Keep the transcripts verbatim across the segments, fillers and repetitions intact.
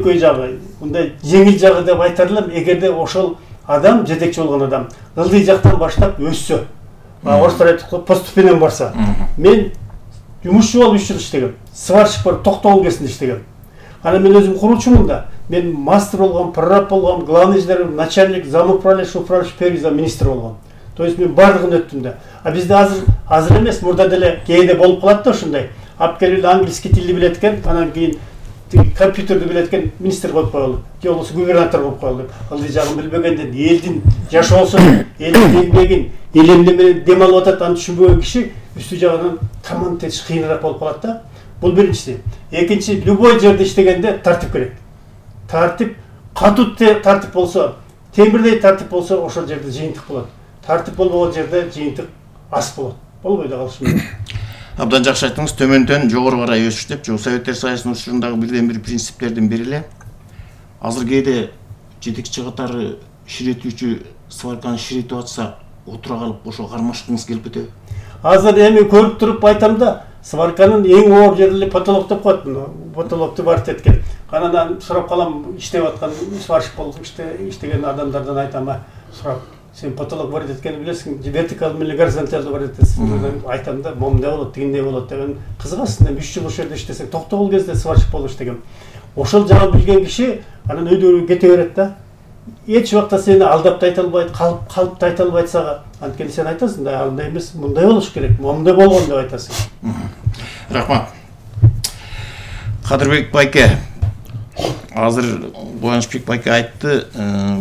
жөнөкөй жагы, мындай жеңил жагы деп айта элем, эгерде ошол адам, жетекчи болгон адам ылдый жактан баштап өссө, орустар айтат, постепенно барса. Мен жумушчу болуп үч жыл иштегем. Сварщик болуп токтогул кезинде иштегем. Ана мен өзүм куручумун да. Мен мастер болгом, прораб болгом, главный инженер, начальник, замуправляющий, управляющий, первый замминистр болгом. То есть мен бардыгын өттүм да. А бизде азыр азыр эмес, мурда деле кээде болуп калат да ушундай. Алып келип английский тилди билет экен, анан кийин компьютерди билет экен, министр болуп коелу, же болбосо губернатор болуп коелу деп. Ылдый жагын билбегенден элдин жашоосун, элдин эмгегин, эл эмне менен дем алып атат, аны түшүнбөгөн киши үстү жагынан команда тетиш кыйыныраак болуп калат да. Бул биринчиси. Экинчи, любой жерде иштегенде тартип керек. Тартип, катуу тартип болсо, темирдей тартип болсо, ошол жерде жыйынтык болот. Тартип болбогон жерде жыйынтык аз болот. Болбой да калышы мүмкүн. Абдан жакшы айттыңыз, төмөндөн жогору карай өсүш деп, жок Советтер Союзунун учурундагы бирден бир принциптердин бири эле. Азыр кээде жетекчи катары ширетүүчү сварканы ширетип атса, отура калып ошо кармашкыңыз келип кетеби? Азыр эми көрүп туруп айтам да, сварканын эң оор жери потолок деп коет. Потолокту барып эткен. Анан сурап калам, иштеп аткан сварщик болуп иштеген адамдардан айтам, сурап, сен потолок бар эткенин билесиң, вертикалдуу менен горизонталдуу бар этесиң. Айтам да, момундай болот, тигиндей болот деген. Кызыгасың, үч жыл ошол жерде иштесең, токтогул кезде сварщик болуп иштегем. Ошол жагын билген киши анан өйдө кете берет да. Эч убакта сени алдап да айта албайт, калып калып да айта албайт сага. Анткени сен айтасың да, андай эмес, мындай болуш керек, момундай болгон деп айтасың. Рахмат. Кадырбек байке, азыр Кубанычбек байке айтты,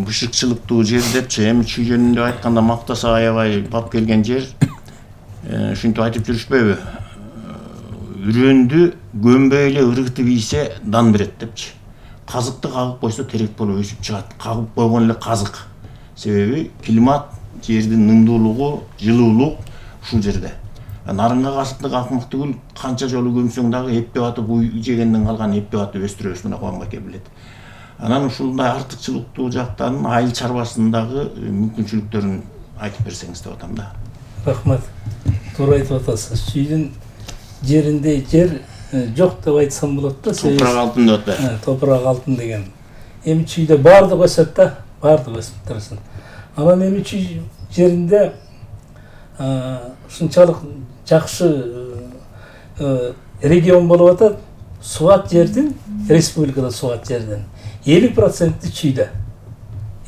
бышыкчылыктуу жер депчи, эми чүй жөнүндө айтканда мактаса аябай бап келген жер. Ушинтип айтып жүрүшпөйбү? Үрөндү көмбөй эле ыргытып ийсе дан берет депчи. Казыкты кагып койсо терек болуп өсүп чыгат. Кагып койгон эле казык. Себеби климат, жердин нымдуулугу, жылуулук ушул жерде. Нарынга касыптык акмык түгүл, канча жолу көмсөң дагы эппеп атып уй жегенден калган эппеп атып өстүрөбүз, мына Кубан байке билет. Анан ушундай артыкчылыктуу жактарын, айыл чарбасындагы мүмкүнчүлүктөрүн айтып берсеңиз деп атам да. Рахмат. Туура айтып атасыз. Чүйдүн жеринде жер жок деп айтсам болот да. Топурак алтын деп атпайбы? Топурак алтын деген. Эми чүйдө баардык өсөт да, баардык өсүп турсын. Анан эми чүй жеринде ушунчалык жакшы регион болуп атат. Суат жердин, республикада суат жердин элүү проценти чүйдө.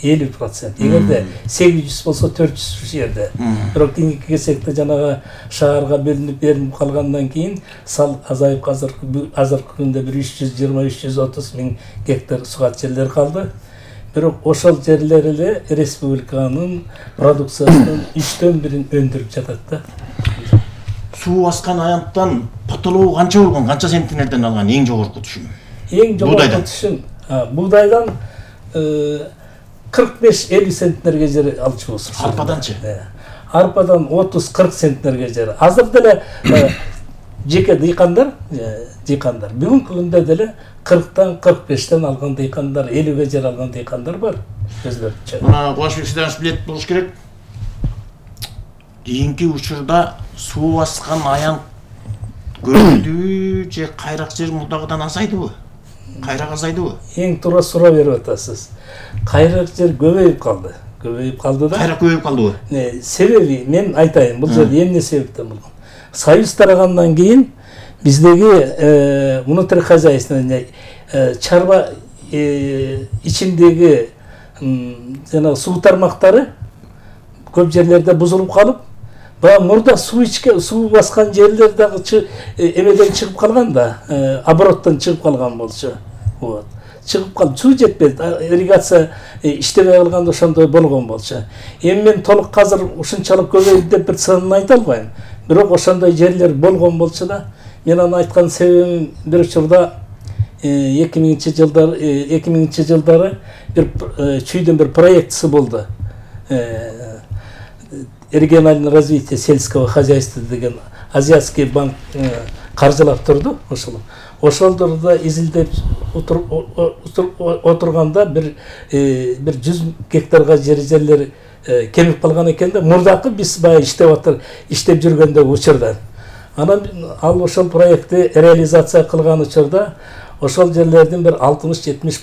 элүү процент. Эгерде сегиз жүз болсо төрт жүз жерде. Бирок кийинки кезекте жанагы шаарга бөлүнүп берилип калгандан кийин сал азайып азыркы азыркы күндө бир үч жүз жыйырма үч жүз отуз миң гектар суат жерлер калды. Бирок ошол жерлер эле республиканын продукциясынын үчтөн бирин өндүрүп жатат да. Суу баскан аянттан потологу канча болгон, канча центнерден алган эң жогорку түшүм? Эң жогорку түшүм буудайдан кырк беш элүү центнерге жер алчубуз. Арпаданчы? Арпадан отуз кырк центнерге жер. Азыр деле жеке дыйкандар, дыйкандар бүгүнкү күндө деле кырктан кырк бештен алган дыйкандар, элүүгө жер алган дыйкандар бар. Өзлөрүнчө. Мына Кубанычбек Сиданович билет болуш керек. Кийинки учурда суу баскан аян көрүлдүбү же кайрак жер мурдагыдан азайдыбы? Кайрак азайдыбы? Эң туура суроо берип атасыз. Кайрак жер көбөйүп калды. Көбөйүп калды да. Кайрак көбөйүп калдыбы? Себеби мен айтайын, бул жерде эмне себептен болгон? Союз тарагандан кийин биздеги внутрь хозяйство чарба ичиндеги жана суу тармактары көп жерлерде бузулуп калып, баягы мурда суу ичке суу баскан жерлер дагы эмеден чыгып калган да, обороттон чыгып калган болчу. Вот. Чыгып калып, суу жетпedi, ирригация иштебей калганда ошондой болгон болчу. Эми мен толук азыр ушунчалык көбөйдү деп бир санын айта албайм. Бирок ошондой жерлер болгон болчу да. Мен аны айткан себебим бир учурда эки миңинчи жылдар эки миңинчи жылдары бир чүйдүн бир проектisi болду. Региональное развитие сельского хозяйства деген Азиатский банк каржылап турду ошол. Ошолдорда изилдеп отурганда бир бир жүз гектарга жер жерлер кемип калган экен да. Мурдакы биз баягы иштеп атыр, иштеп жүргөндөгү учурда. Анан ал ошол проектти реализация кылган учурда ошол жерлердин бир алтымыш жетимиш